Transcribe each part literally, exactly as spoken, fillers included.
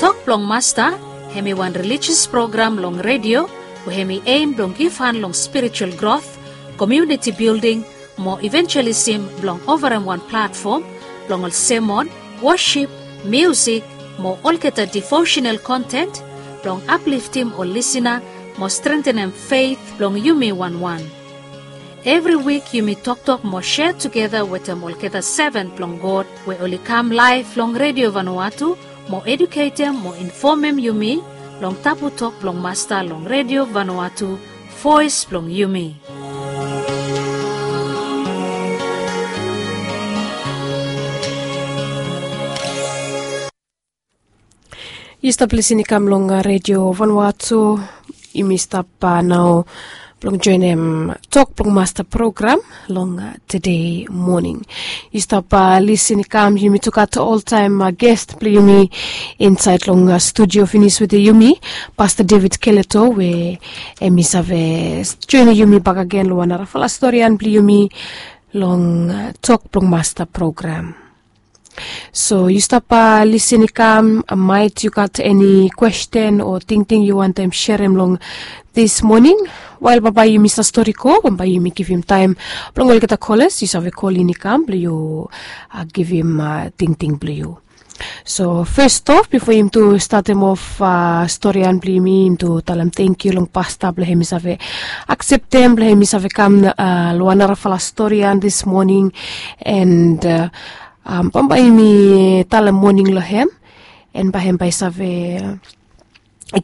Tok blong Masta, hem i wan religious program long redio we hem i aim blong givhan long spiritual growth, community building, mo evangelism blong overem wan platform blong ol semon, wosip, miusik, mo olgeta devotional content blong apliftim ol lisina mo strengtenem faith blong yumi wanwan. Evri wik yumi toktok mo share tugeta wetem olgeta seven blong God we oli kam laif long redio Vanuatu mo eduketem mo infomem yumi long tabu tok blong Masta long redio Vanuatu, voes blong yumi. Yu stap lisin i kam long redio Vanuatu. Yumi stap nao blong joenem tok blong Masta program long tede moning. Yu stap lisin i kam, yumi tu gat oltaem gest blong yumi insaed long studio finis wetem yumi, Pasta David Keleto, we hem i save joenem yumi bakegen long wan narafala storian blong yumi long tok blong Masta program. So yu stap lisin i kam, maet yu gat eni kwesten o tingting yu wantem serem long dis moning, wael bambae yumi save stori go, bambae yumi givim taem blong olgeta kolas yu save kol in i kam blong yu givim tingting blong yu. So fes of, bifo yumi tu statem of storian blong yumi, yumi tu talem tangkiu long Pasta blong hem i save akseptem blong hem i save kam long wan narafala storian dis moning. And bambae yumi talem moning long hem, and bae hem bae save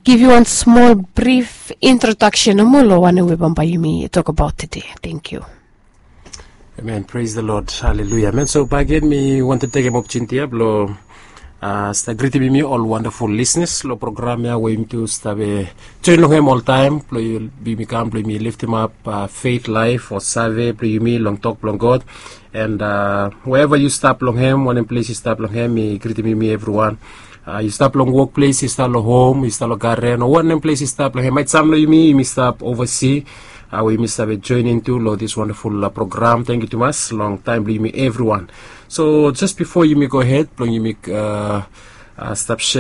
givim wan smol brif introdaksen nomo long wanem we bambae yumi tokbaot tede. Tangkiu. Amen. Praise the Lord. Hallelujah. Amen. So bae gen mi wantem tekem opotuniti ya blong stap gritim yumi ol wandaful lisenas long program ya we yumi tu stap joen long hem oltaem blong yumi kam blong yumi liftimap faith laef o save blong yumi long tok blong God. And wherever yu stap long hem, wanem ples yu stap long hem, mi gritim yumi evriwan. Yu stap long wokples, yu stap long hom, yu stap long garen, o wanem ples yu stap long hem, maet sam long yumi yumi stap ovasi, we yumi save joenem tu long dis wandaful program. Tangkiu tumas long taem blong yumi evriwan. So jes bifo yumi gohed blong yumi stap